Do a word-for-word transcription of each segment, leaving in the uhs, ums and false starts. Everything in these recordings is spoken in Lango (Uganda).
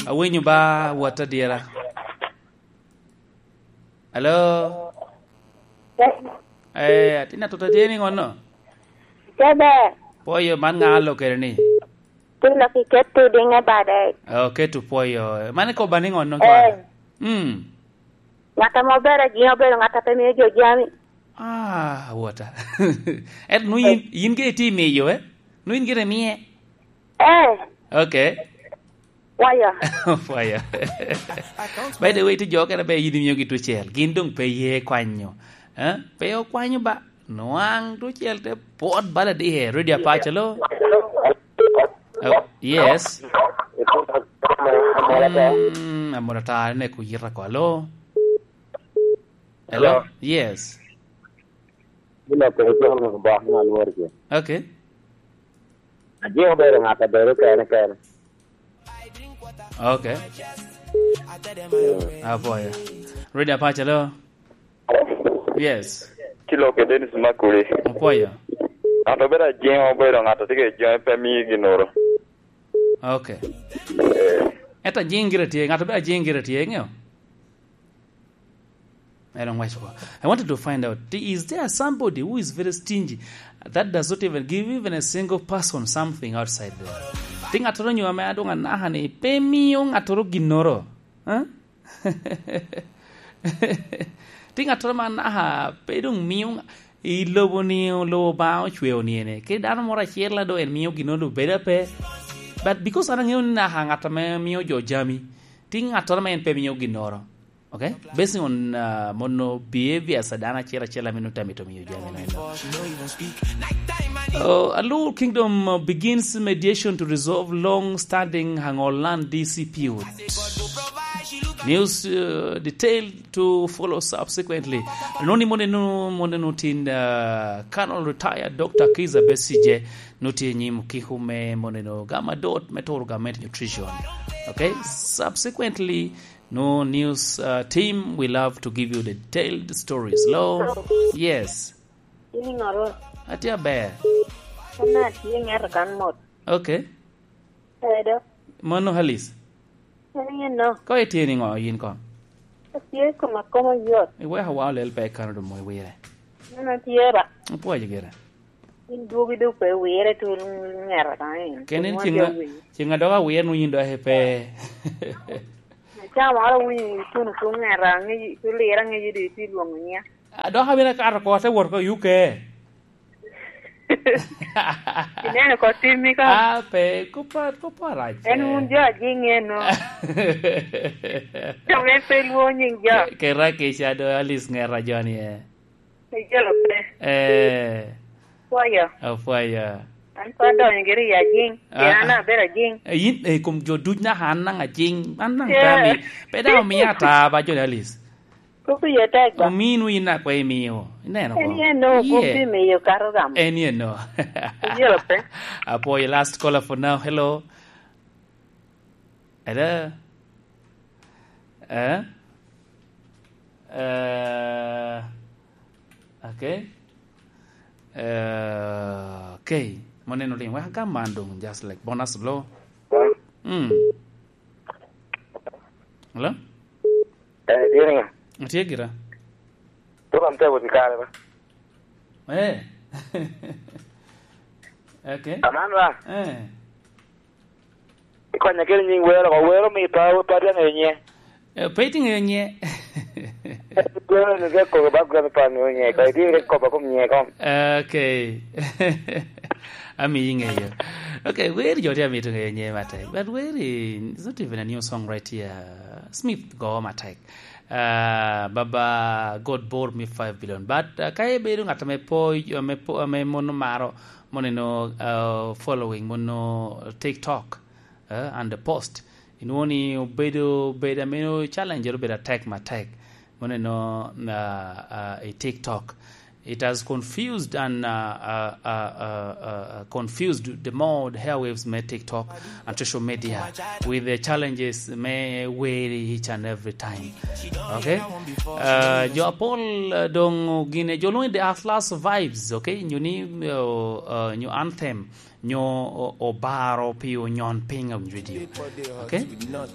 Awinyo ba, wot adyera. Alo? Eh, atin atut atye ni ŋonno? Tebe. Pwoyo, man ŋa alo kede ni? Tilo ki keto diŋe bade. Oh, keto pwoyo. Man ikoba ni ŋonno, eh, kwara? Mm. Ŋat ame ober ajiŋ obedo ŋat a pe mio jo jami. Ah, wota. Ento nu yin, yin gire itye imiyo, eh? Nu yin gire imiye? Eh. Okay. Pwoyo. Pwoyo. By the way, ti jo kene be yin imiyogi tucel. Gin doŋ pe ye kwanyo. Eh? Pe okwanyo ba. Nwaŋ tucel te pwot bala dihe. Radio Apac, alo? Oh, yes. Mm, amol ata, ne ku yita ko, alo? Hello? Hello? Yes. Gin a peke calo ŋeko bok me alwor ce. Okay. Ajiko bedo ŋat a bedo kene kene. Okay. Mm. Apwoyo. Radio Apac, alo? Yes. Kilo ke Dennis Makuri. Apwoyo. Ŋat a bedo ajiŋ obedo ŋat a tye ka jiŋe pe mio gin oro. Okay. Eh. Ento ajiŋ gire tye, ŋat a bedo ajiŋ gire tye, iŋeo? I don't watch for. I wanted to find out, is there somebody who is very stingy that does not even give even a single person something outside there? Ti ŋattoro nyo ame adwoŋ anaka ni pe mio ŋattoro ginnoro? Huh? Ti ŋattoro ma anaka pe doŋ mio ŋa-, i lobo ni, lobo Obaŋa ocweo ni ene. Kede dano moro acel a doŋ en mio ginnoro doŋ bedo ape. But because an aŋeo ni naka ŋat ame mio jo jami, ti ŋattoro ma en pe mio ginnoro. Okay? Basing on, uh, mono behaviors a dano acel acel ame nut amito miyo jami na eno. Uh, Alur Kingdom, uh, begins mediation to resolve long-standing Angol land dispute. News, uh, detail to follow subsequently. Noni moneno, moneno tin, uh, Colonel Retired Doctor Kizza Besigye, noti nyim kiko me moneno gama dot me toro government nutrition. Okay? Subsequently, No news, uh, team, we love to give you the detailed stories. Hello? Yes. In iŋoro? Atye aber. An atye ŋeto kan mot. Okay. Edo. Mano Halis? En yen no. Ko itye ni ŋo yin ko? Atye koma koma yot. Iweko wa olel pe kano do mo iwire. An atye ba. Apwoyo gire. Yin dwogi dok pe wire tul ŋera ka en. Ken en ceng a-, ceng a dok awire nwoŋo yin dok pe. Ca moro winyo ituno tul ŋera, ŋeji, tul lira ŋeji dok itye lwoŋo nya. A, dok abino kato oko, ate wot oko i U K. Ineno ko timmi ka? A, pe, kop a, kop arac. En wun jo ajiŋ eno. Jo me pe lwo nyiŋ jo. Kera kica do Alice ŋera joni e. Ijolo pe. Eh. Pwoyo. Apwoyo. An pe adonyo giri i ajiŋ. Ah, pien an ah. Abedo ajiŋ. Eh, yin, eh, kom jo duc naka an naŋ ajiŋ. An naŋ yeah. Tami. Pe daŋ omio ata ba John Alice. Kop iye tek ba. Omino yin akwa imio. Ineno ko? En yen no, kop imiyo kato gamo. En yen no. Ijolo pe. Apwoyo, last caller for now. Hello. Ada. Eh? Eh, okay. Eh, okay. Mo neno ling. Wek agam man dong, just like bonus blow. Mm. Hello? Eh, dini. Atye gira. Program te wot i kare ba? Eh. Okay. Aman ba? Eh. Ikonya kede nying wero, ko wero mi pa, pa tye ŋeyo nye. Eh, pe itye ŋeyo nye. Wero ni ke kobo background pa ŋeyo nye, ko itye ke kobo kom nye kom. Okay. Ami ŋeyo. Okay, weri jo tye amito ŋeyo nye matek. But weri, it's not even a new song right here. Smith go matek. Ah, Baba God bore me five billion. But, ah, ka ibedo ŋat ame po, ame po, ame mono maro, mono eno, ah, following, mono TikTok, eh, and the post. Inwoŋo ni obedo, obedo ame challenge obedo atek matek. Mono eno, ah, ah, i TikTok. It has confused and, uh, uh, uh, uh, uh, confused the more the airwaves me TikTok and social media with the challenges me weri each and every time. Okay? Uh, jo apol, uh, dong gine jo lwongo the Atlas Vibes, okay? Nyo ni, uh, uh, nyo anthem, nyo o-, obaro pi onyon piny on radio. Okay?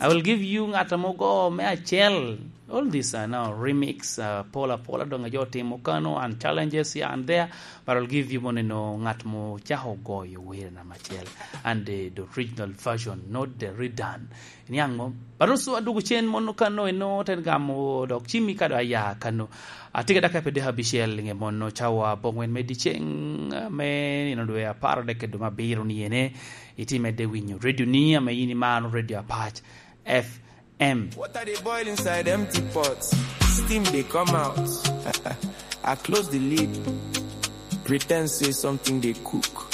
I will give you ngat mogo me acel. All this are now remix, uh, pola pola dong ajo timo kano and challenges here and there, but I'll give you mono eno ngat mo chako goyo wer na macel and the, the original version, not the redone. Niang mo? But also adugu chen mono kano eno ten gamo dok chimi kado aya kano. Atika daka pe deka bicel nge mono chawa bongwen me diceng, uh, me nino dwe apar deke duma biro ni ene. Iti medde winyo radio ni ame yini mano radio Apac F M. Water dey boil inside empty pot. Steam dey come out. I close the lid. Pretend say something dey cook.